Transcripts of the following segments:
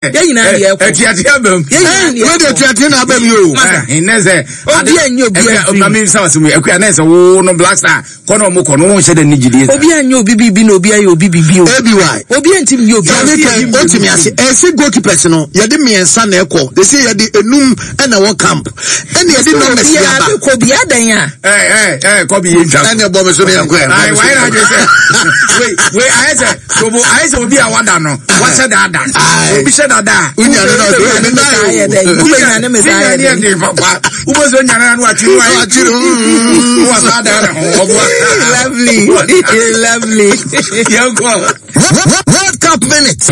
Yɛn nyinaa deɛ ɛkɔ. Atuate abam. Yɛn nyinaa deɛ ɛkɔ. Wei de atuate na abam yi o. Ɛnɛ sɛ. Obi anyɛ obi afiri. Maame nsa wɔ sɛ mu akua nɛ sɛ wo no Black Star kɔ na ɔmo kɔ no wɔn hyɛ dɛ ne gyidie. Obi anyɛ obi biribi na obi ayɛ obi biribi o. ABY. Obi antimi nyɛ obi. Yɛde kɛn otimi ase ɛsi goalkeepers no yɛde mmiɛnsa na ɛkɔ ɛsi yɛde enum ɛna ɛwɔ camp ɛna yɛde numbers yɛ aba. Obiara kɔ bi adan a. Ɛɛ ɛɛ kɔbi yɛ ntwa so. Ɛna ɛbɔ mi so ne yɛn kɔ yɛn. Ayi wayɛ na adwene sɛ wei wei ayɛ sɛ tobo ayɛ sɛ obi a wada no wahyɛ da ada obi hyɛ da da a. Wonya ne na ɔsɛ ne na yɛ dɛ wobɛnya ne me saa yɛ dɛ. Ne papa wobɛ sɛ onyane na no atwi no ayɛ Atwi no. Wɔ saa da ne ho ɔboa. Lovely lovely. Yɛn kɔ. World Cup minute.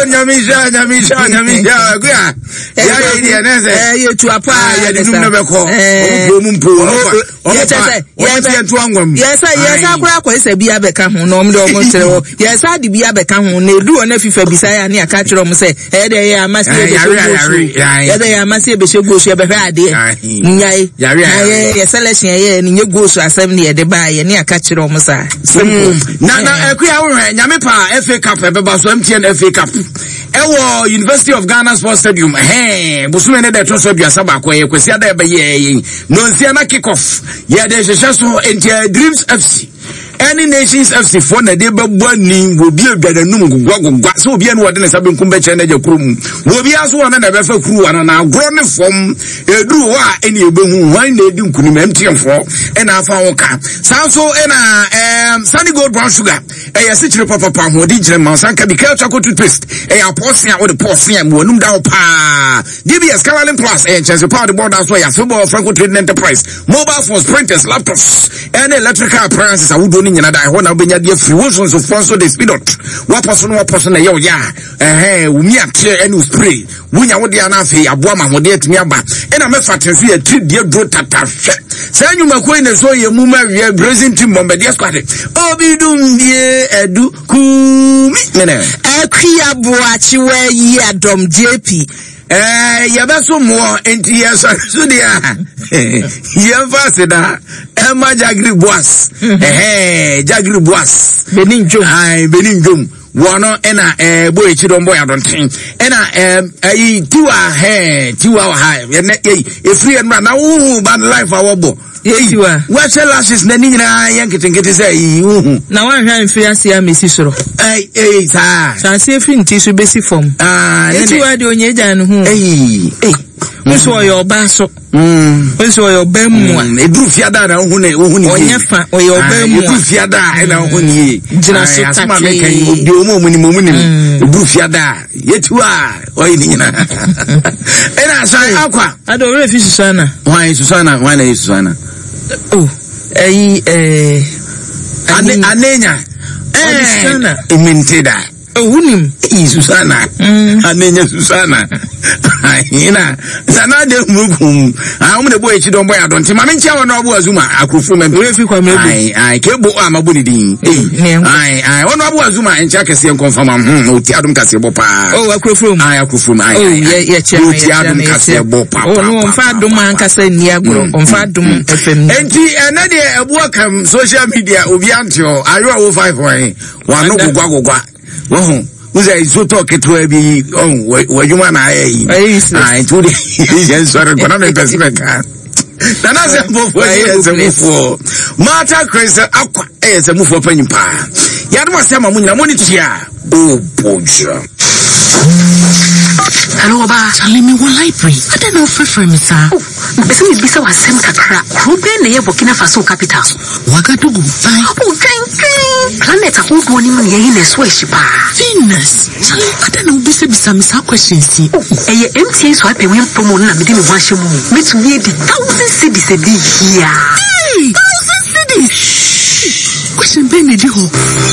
Nyamisha nyamisha nyamisha akuya. Yɛayɛ yi deɛ ne sɛ. Ɛyɛ tua paa. Yɛde num na bɛkɔ. Ɔmo po ɔmo mpo ɔmo fa ɔmo fa ɔmo tiɛ nto angwa mu. Yɛsɛ yɛsɛ akora akɔ sɛ bi abɛka ho na ɔmo de ɔmo kyerɛ hɔ. Yɛsɛ ade bi abɛka ho na edu hɔ na FIFA bisa yɛ ne aka kyerɛ ɔmo sɛ ɛyɛ dɛ yɛ ama se yɛbɛhyɛ gosu. Yɛ dɛ yɛ ama se yɛbɛhyɛ gosu yɛbɛhwɛ adeɛ. Nyae. Na yɛ yɛ selection yɛ ne nye gosu asɛm ne yɛde baa yɛ ne aka kyerɛ ɔmo saa. Simple. Na na akuya wohwɛ nyame pa FA Cup ɛbɛba so MTN FA Cup. Ɛwɔ University of Ghana Sports Stadium, ɛhɛn, bosome ne da ɛtɔ so 31, ɛyɛ Kwasi ada ɛbɛyɛ yɛn nonsia na kick off yɛde hyehyɛ so nti ɛyɛ Dreams FC ɛne Nations FC foɔ na ɛde bɛbɔ ani wɔ obi adwa n'anum gogwagogwa sɛ obi ɛne wɔde ne nsa benkum bɛkyerɛ n'agya kuro mu wɔ obi aso wɔn na ɛbɛfa kuruwa no na agorɔ ne fam ɛduru hɔ a ɛne ɛbɛhu hwan na ɛdi nkunim MTN foɔ ɛna afa ho ka saa nso ɛna ɛɛm Sunny Gold Brown Sugar Ɛyɛ asikyire papapa, ahoɔden gyina mu. San ka bi, Kel Charcoal Toothpaste. Ɛyɛ apɔɔse a wode pɔɔse a mu anum da hɔ paa. DBS Caroline Plus ɛyɛ nkyɛnse pa a wode bɔɔ da so ɛyɛ afebɔɔ Franco Trading Enterprise. Mobile phones, printers, laptops, ɛne electrical appliances ahodoɔ no nyina da ɛhɔ na wobɛnya de afiri. Wo nsonsofoɔ nso de Speedot. Woapɔ so no woapɔ so na ɛyɛ wo ya a, ɛhɛn, wo miateɛ ɛne wo spray. Wonya wo deɛ na afei aboa ma ahoɔden atumi aba. Ɛna mɛfa te nso yɛ tiri deɛ duro tata hwɛ. Saa nnwumakuo yi na ɛsɔ yɛ mu ma wiɛ Brazil team Bombardier squad. Obi dum die adu kumi mene. Akua Boakye wayi adɔm JP. Ɛɛ yɛbɛso mmoɔ nti yɛsɔre so deɛ a yɛmfa aseda ɛma Jagri Boas. Ɛhɛn Jagri Boas. Benin Dwom. Ayi Benin Dwom. Wɔn no ɛna ɛɛ bɔ ekyi dɔm bɔ yɛ adɔnten ɛna ɛɛ ɛyi tiwa hɛn tiwa wɔ ha ɛnɛ ɛyi efiri yɛn nora na huhu ba life a wɔbɔ ɛyi wɔahyɛ lashes na ne nyinaa yɛ nketenkete sɛ ɛyi huhu. Na wɔanhwɛ amfiri ase a mesi soro. Ɛyi ɛyi saa. Sɛ ase efiri nti so besi fam. Aa ne ne tiwa deɛ onye gya ne ho. Ɛyi ɛyi. Nso ɔyɛ ɔbaa so. Nso ɔyɛ ɔbaa mu a. Eduru fiada na ohun ne ohun ne yie. Ɔnyɛ fa ɔyɛ ɔbaa mu a. Eduru fiada ɛna ohun ne yie. Gyina so tatee. Asoma mi kan yi obi omu omu ni mu omu ni mu. Eduru fiada yɛtu a ɔyɛ ne nyinaa. Ɛna asan akwa. Ado owurɛ fi Susana. Hwan Susana hwan na yɛ Susana. Oh ɛyi ɛɛ. Ane anenya. Ɔde Susana. Ɛɛ mente da. Oh, wunim. Eyi Susana. Mm. Anenya Susana. Ahina. Sana de murukum. Ah, omo de boy echi don boy adon. Ti mame ntia wono abu azuma akrofo mem. Ore fi kwa mebe. Ai, ai, ke bo ama bo ne din. Ei. Ai, ai, wono abu azuma ntia kese nkonfa ma. Hmm, oti adom kase bo pa. Oh, akrofo mu. Ai, akrofo mu. Ai. Oh, ye ye che me. Oti adom kase bo pa. Oh, no, omfa adom ankasa ni agro. Mm, omfa mm, adom mm. FM. Enti ene de ebu akam social media obi antio. Ayo wo 5 wan. Wano gogwa gogwa. Wahu. Wosɛ nsuo tɔ ketewa bi yi ɔn w'adwuma na ayɛ yi. Ah, nti wode yɛ nsɔre nkɔ na mepɛ sɛ mɛka. Nana sɛ mfofoɔ yɛ nsɛmufoɔ. Martha Chris Akwa ɛyɛ nsɛmufoɔ panyin paa. Yɛadom ase ama mo nyina mo ne tua. O bɔdwa. Hello, Oba. Charlie, me wɔ library. Adɛn na wofrɛfrɛ me saa? Oh, mepɛ sɛ mebisa wo asɛm kakra. Kuro bɛn na ɛyɛ Burkina Faso capital? Ouagadougou, bye. Oh, dwen dwen! Planet ahodoɔ no mu nea ɛhe na ɛso ahyi paa? Venus! Charlie, adɛn na wobisabisa me saa questions yi? Oh, ɛyɛ MTN Swipe and Win promo no na mede me ho ahyɛ mu o. Mɛtumi adi 1,000 cedis ɛde yi ara. Hey! 1,000 cedis! Question bɛn na ɛdi hɔ?